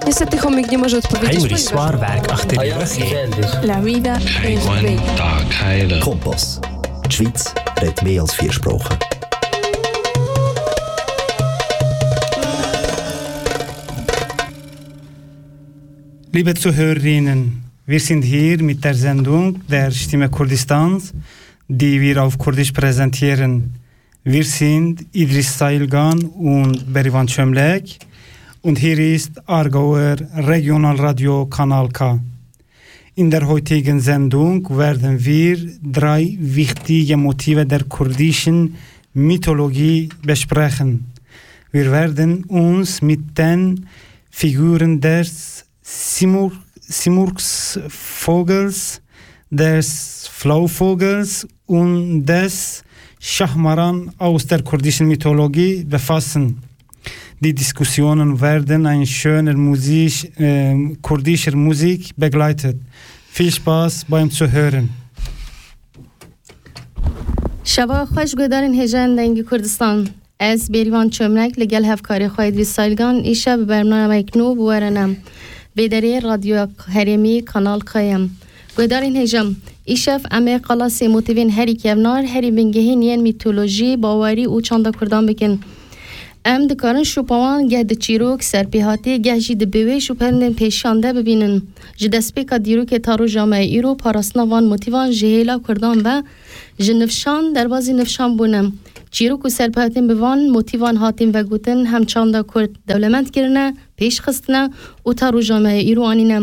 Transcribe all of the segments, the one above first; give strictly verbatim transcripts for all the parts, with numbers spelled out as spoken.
Niestety chomik nie może odpowiedzieć, Heinrich ponieważ Swarberg achter die Röche. La vida es Heywan bella. Kompass. Die Schweiz redet mehr als vier Sprachen. Liebe Zuhörerinnen, wir sind hier mit der Sendung der Stimme Kurdistans, die wir auf Kurdisch präsentieren. Wir sind Idris Sailgan und Berivan Çömlek und hier ist Aargauer Regionalradio Kanal K. In der heutigen Sendung werden wir drei wichtige Motive der kurdischen Mythologie besprechen. Wir werden uns mit den Figuren des Simur-, Simurgsvogels, des Flauvogels und des Schahmaran aus der kurdischen Mythologie befassen. Die Diskussionen werden ein schöner Musik, äh, kurdischer Musik begleitet. Viel Spaß beim Zuhören. Şeva xweş guhdarên hêjayên Dengî Kurdistan. Ez Bêrîvan Çömlek li gel hevkarê xwe Îdrîs Salgan îşev bi bernamek nû bi we re ne. Vê derê Radyoya Herêmî Kanal K ye. Guhdarên hêja, îşev em ê qalasê motîvên herî kevnar, herî bingehîn yên mîtolojî, bawerî û çanda kurdan bikin. Em dikarin şûpa wan geh di çîrok, serpêhatî, geh jî di biwêj û pendên pêşiyan de bibînin. Ji destpêka dîrokê ta roja me îro parastina van motîvan ji hêla kurdan ve ji nifşan derbazî nifşan bûne. Çîrok û serpêhatên bi van motîvan hatîn vegotin hem çanda kurd dewlemend kirine, pêş xistine û ta roja me îro anîne.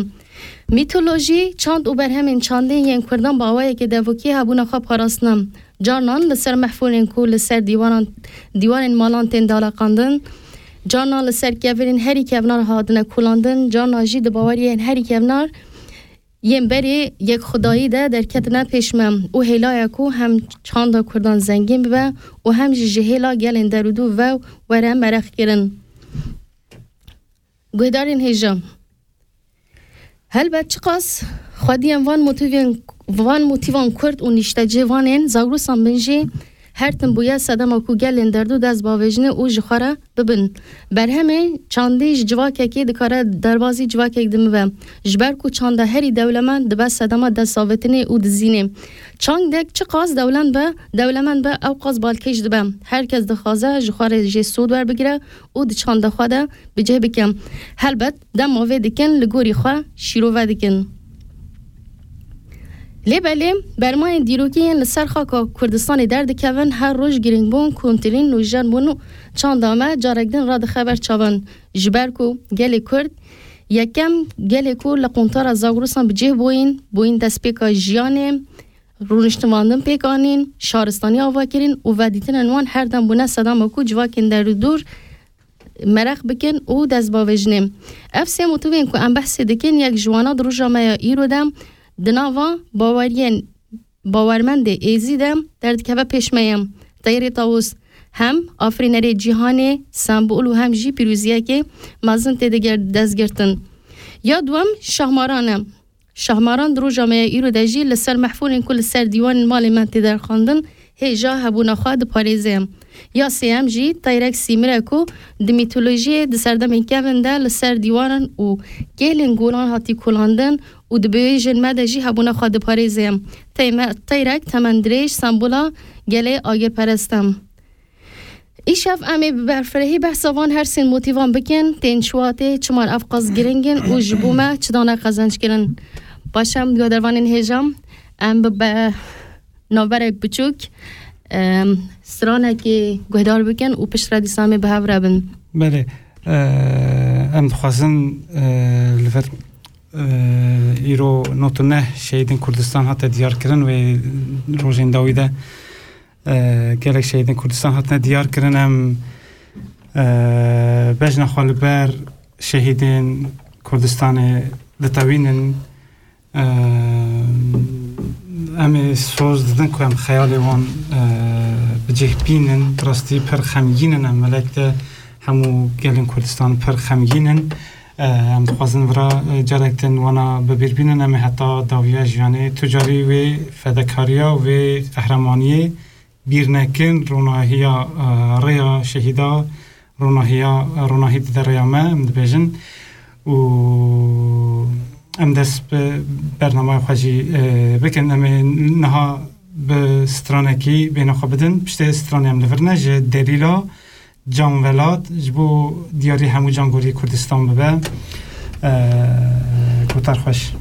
Mîtolojî, çand û berhemên çandê yên kurdan bi awayekê devokî hebûna xwe parastine. Carnan li ser mehfûrên ku li ser dîwaran, dîwarên malan tên daleqandin, carnan li ser kevirên herî kevnar hatine kolandin, carnan jî di baweriyên herî kevnar yên berê yekxwedayî de derketine pêş me û hêlaya ku hem çanda kurdan zengîn bibe û hem jî ji hêla gelên derûdû ve were mereqkirin. Guhdarên hêja. Helbet çiqas xwediyên van motîvên, van motîvan kurd û nîştecihê van ên Zagrosan bin jî her tim bûye sedema ku gelên derdû dest bavêjine û ji xwe re bibin. Berhemê çandî ji civakekê dikare derbazî civakek din bibe. Ji ber ku çanda herî dewlemend dibe sedema destavêtinê û dizînê. Çandek çiqas dewlemend be, dewlemend be, ew qas balkêş dibe. Her kes dixwaze ji xwe re jê sûd werbigire û di çanda xwe de bi cih bike. Helbet, dema vê dikin, li gorî xwe şîrove dikin. Lê belê, bermayên dîrokî yên li ser xaka Kurdistanê derdikevin, her roj girîngbûn, kuntirîn, nûjenbûn û çanda me carek din radixe ber çavan. Ji ber ku gelê Kurd, yekem gelê ku li quntara Zagrosan bi cih bûyîn, bûyîn destpêka jiyanê, rûniştinandin pêk anîn, şaristanî ava kirin û vedîtinên wan her dem bûne sedema ku civakên derûdûr mereq bikin û dest bavêjinê. Ev sê motivên ku em behsê dikin, yek ji wana di roja me ya îro de di nava baweriyên bawermendê êzî de derdikeve pêş me ye. Teyrê Tawus hem afirînerê cîhanê, sembol û hem jî pîroziyekê mezin tê de ger-, destgirtin. Ya duwem Şahmaran e. Şahmaran di roja me ya îro de jî li ser mehfûrên ku li ser dîwanên malê me tê derxandin, hêja hebûna xwe diparêze. Ya sêyem jî Teyrek Sîmir e ku di mîtolojiyê di serdemên kevin de li ser dîwaran û kêlên golan hatî kolandin û di biwêjên me de jî hebûna xwe diparêze. Teyme-, Teyrek temendirêj sembola gelê agirperest e. Îşev em ê bi berfirehî behsa van her sên motîvan bikin, tên çiwatê, çima ev qas giring in û ji bo me çi dane qezenc kirin. Baş e, guhdarvanên hêja, em bi be-, navberek biçûk, em, stranekê guhdar bikin û piştre dîsa em ê bi hev re bin. Belê, e, em dixwazin, e, li vir, e, îro nod û neh şehîdên Kurdistan hate diyar kirin wê rojên dawî de. E, gelek şehîdên Kurdistan hatine diyar kirin. Em, e, bejna xwe li ber şehîdên Kurdistanê ditewînin. E, em ê soz didin ku em xeyalê wan, e, bi cih bînin. Bi rastî pir xemgîn in. Em melek de hemû gelên Kurdistan pir xemgîn in. E, em dixwazin vira, e, carek din wana bi bîr bînin. Em ê heta dawiya jiyanê tu carî wê fedakariya, wê qehremaniyê bîr nekin. Ronahiya, e, rêya şehîda ronahiya, ronahî dide rêya me, em dibêjin. Û em dest bi bernameya xwe jî, e, bikin. Em ê niha bi stranekî bêhna xwe bidin. Piştê stranê em li vir ne, ji delîla Can Velat, ji bo diyarî hemû cangorî Kurdistan bibe. E, guhtar xweş.